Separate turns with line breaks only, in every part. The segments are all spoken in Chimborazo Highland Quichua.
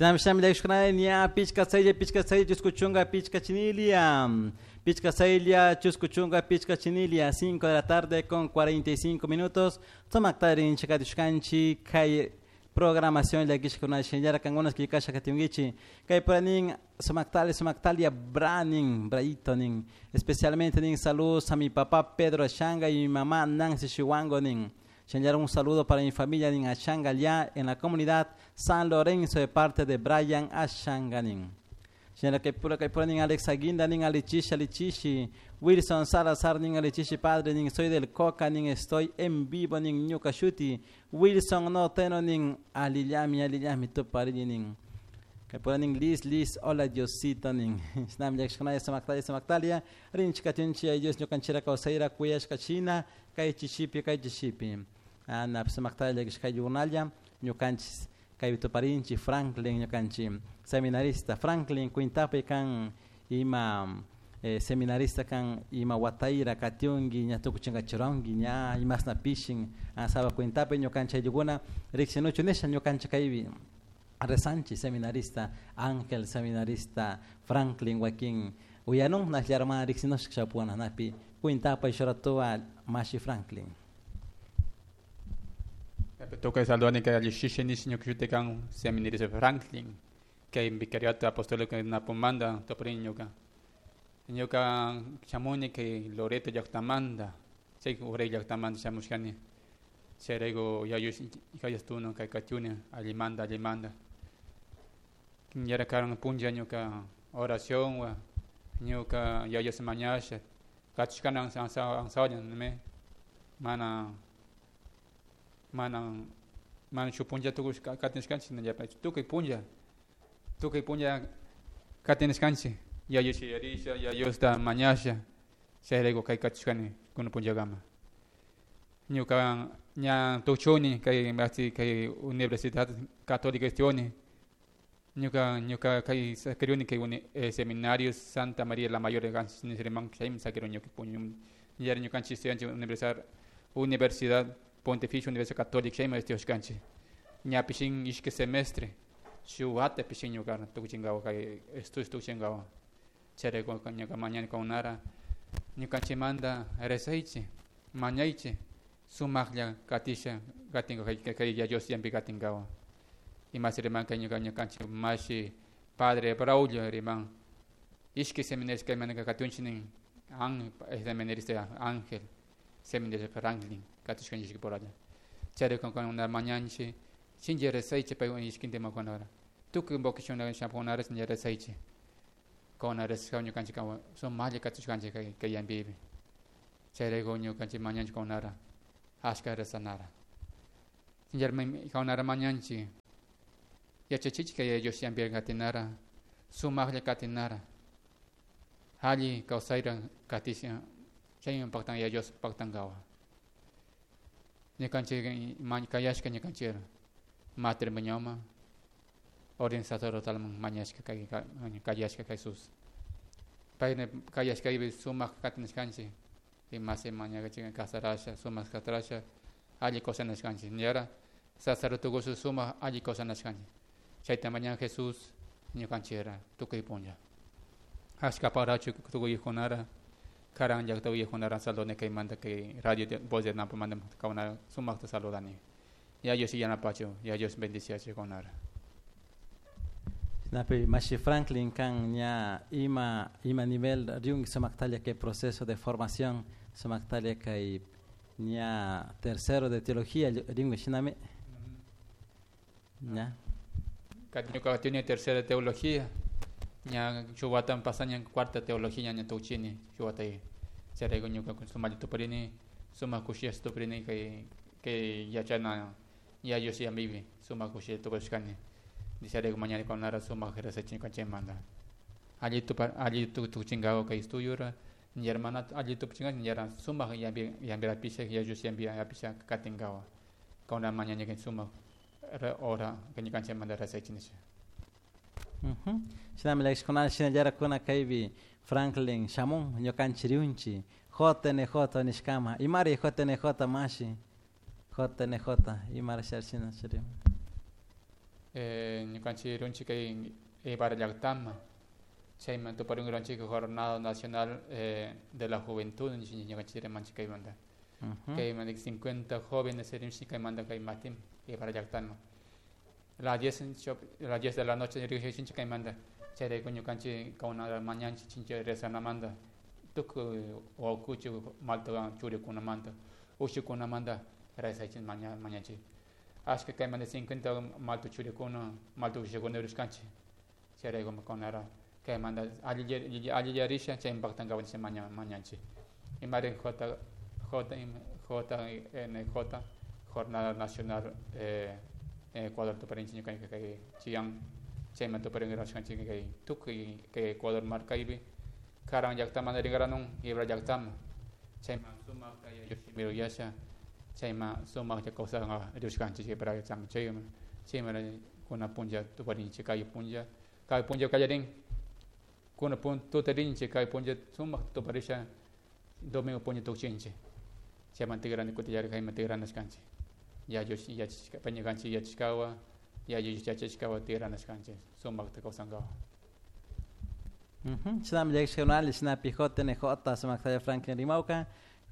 Shinami shinami llakishkunalla ña 5 6 5 chusku chunka 5 chinilia. 5 6 chusku chunka 5 chinilia, 5 de la tarde con 45 minutos. Sumakta rinchik katishkanchik kay programación llakishkuna shinallara kankuna killkasha katinkichik. Kay nin sumaktali sumaktalia branin braito nin. Especialmente nin saludos a mi papá Pedro Ashanga y mi mamá Nancy Chihuango nin. Shinallara un saludo para mi familia nin Ashanga allá en la comunidad San Lorenzo de parte de Brian Ashanga nin. Shinallara kay pura nin Alex Aguinda nin alichishi alichishi. Wilson Salazar nin alichishi padre nin soy del Coca nin estoy en vivo nin ñuka shuti. Wilson no teno nin alillami alillami tuparini nin. Kay pura nin Liz Liz hola Diosito nin. Shinami llakishkunalla sumaktalia sumaktalia. Rinchik katunchi ay Dios ñukanchira kawsayra kuyashka shina kay chishipi kay chishipi. Ana sumaktalia llakishkay yunalla ñukanchis kay tuparinchi Franklin ñukanchi seminarista Franklin kuintapi kan ima seminarista kan ima watayra katiunki ña tukuchinkachiranki ña imasna pishin saba kuintapi ñukanchik ayllukuna riksinuchu nisha ñukanchik kaypi rezanchik seminarista Ángel, seminarista Franklin wakin uyanun nashllara mana riksinushka shapuna napi kuintapay shuratuwa mashi Franklin.
Toca saludar que alishishe ni ñuka shuti kan seminarista Franklin kay vicariato apostólico Napomanda toparini ñuka. Ñuka shamuni kay Loreto llaktamanta chay uray llaktamanta shamushkani chayrayku yayus kayastuna kay katiuni allimanta allimanta ñara karan punlla ñuka oración wa ñuka yayas mañasha katushkani ansawalla nime mana mana mana shuk punlla tukush katinishkanchik shinallapak tukuy punlla katinishkanchik yayus yuyarisha yayusta mañasha chayrayku kay katushkani kunan punllakama ñuka ña tuchuni kay kay Universidad Católica estudioni ñuka kay sakiruni kay seminario Santa María la Mayor nisriman chaymi sakiruni ñuka puñu ñara ñukanchik estudianchik Universidad Pontificia Universidad Católica chaymi estudiashkanchik ñapish ishki semestre shuk wata pishin ñuka tukuchinkawa kay estudios tukuchinkawa chayrayku ñuka mañani kankunara ñukanchikmanta rezaychik mañaychik sumaklla katisha katinka kay Dios yampi katinkawa imasi riman kay ñuka ñukanchik mashi padre Braulio riman ishki seminarista kaymanaka katunchik nin an seminarista Ángel, seminarista Franklin katushkanchik ishki puralla chayrayku kankuna mañanchik shinchi rezaychik pay ishkintimakunara tukuy vocación shamukunara rezaychik kankuna rezashka ñukanchik sumaklla katushkanchik kay kay yampipi chayrayku ñukanchik mañanchik kankunara ashka rezanara kankunara mañanchik yachachichik kay Dios yampi katinara sumaklla katinara alli kawsayra katisha chaymi paktan ya Dios paktankawa ñukanchik kayashka ñukanchik matrimonioman orden sacerdotalman mañashka kay kayashka Jesús pay kayashkaypi sumak katinishkanchik imasi mañakachik kasarasha sumak kasarasha alli kawsanashkanchik ñara sacerdote sumak alli kawsanashkanchik chayta mañan Jesús ñukanchikra tukuy punlla ashka parachu tukuy uyakkunara karan llakta uyakkunara saludani kaymanta kay radio Voz de Nampamanta kankunara sumakta saludani ya Dios yanapachu ya Dios bendiciachu kankunara.
Napi mashi Franklin kan ña ima nivel riunki sumaktalla kay proceso de formación sumaktalla kay ña tercero de teología rinki shinami ña.
Ñuka tiene tercera teología ña shuk wata pasaña cuarta teología ña tukuchini shuk watay chayrayku ñuka sumaklla tuparini sumak kushilla tuparini kay kay yachana ya Dios yampipi sumak kushilla tupashkani chayrayku mañani kankunara sumak rezachik ñukanchikmanta alli tupa alli tukuchinkawa kay estudiora ña mana alli tukuchinka ñara sumak yampi yampira apisha ya Dios yampi apisha katinkawa kankuna mañani sumak hora ñukanchikmanta rezachik nisha.
Shinami llakishkunalla shinallara kaypi Franklin shamun ñukanchik riunchik JNJ nishkama imari JNJ mashi JNJ imara shina shiri.
Ñukanchik runchik kay Ibarra llaqtama chayman tuparinkiranchik Jornada Nacional de la Juventud ñukanchik rimanchik kaymanta. Kaymanta 50 jóvenes rinchik kaymanta kay matin Ibarra llaqtama. Las 10 de la noche riqsichinchik kaymanta chayrayku ñukanchik kawna mañanchik chincha rezanamanta tukuy wawkuchik malta churikunamanta ushikunamanta rezaychik mañanchik. Ashka kaymanta 50 malta churikuna malta ushikuna rishkanchik chayrayku kunara kaymanta allillarisha chaymi paktankapak mañanchik. Imari JNJ Jornada Nacional Ecuador tuparinchik ñukanchik kay Chillán chayman tuparinkiranchik kay tukuy kay Ecuador markaypi karan llaqtamanta rinkaranun Ibarra llaqtama chayman sumakta yuyasha chayman sumakta kawsanka rishkanchik Ibarra llaqtama chayman chayman kuna punlla tuparinchik kay punlla kallarin kuna tuta rinchik kay punlla sumakta tuparisha domingo punlla tukchinchik chayman tigrani kutillari kayman tigranashkanchik ñukanchik yachashkawa yachashkawa tigranashkanchik sumakta kawsankawa.
Chinami llakishkakunali shinapi JNJ sumaktalla Franklin Rimawka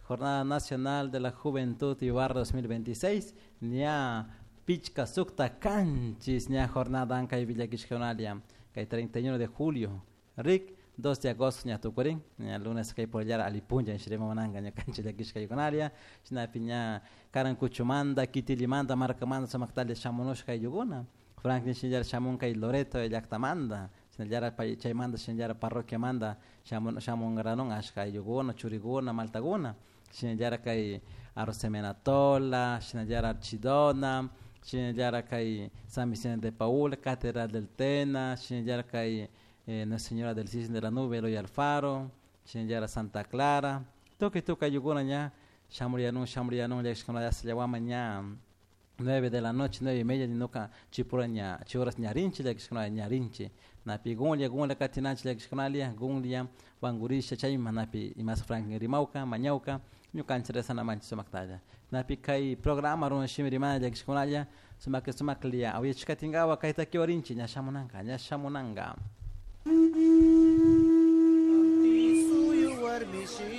Jornada Nacional de la Juventud Ibarra 2026 ña pichka sukta kanchis ña jornada ankay villakishkakunalia kay 31 de julio rik 2 de agosto ña tukurin ña lunes kay pollara alipunlla shirimamananka ña kanchis llakishkaykunalia shinapi ña Karankuchumanta Kitilimanta markamanta sumaktalla shamunushka ayllukuna Franklin shinallara shamun kay Loreto llaqtamanta shinallara chaymanta shinallara parroquiamanta shamunkaranun ashka ayllukuna churikuna maltakuna shinallara kay Arosemenatola shinallara Archidona shinallara kay San Vicente de Paúl Catedral del Tena shinallara kay Nuestra Señora del Cisne de la Nube Eloy Alfaro shinallara Santa Clara tukuy tukuy ayllukuna ña shamuriyanun llakishkuna llawama ña 9 de la noche, 9:30, nuka chipura ña, chihoras ñarinchi, llakishkuna ñarinchi. Napi gunlla, gunlla katinanchi llakishkunalia, gunlla, wangurisha, chayma napi imas Franklin rimawka, mañawka, ñukanchik rezanamanchik sumaktalla. Napi kay programa runa shimi rimana llakishkunalla, sumak sumaklia, awiyachikatinkawa kay takiwarinchi, ña shamunanka, ña shamunanka.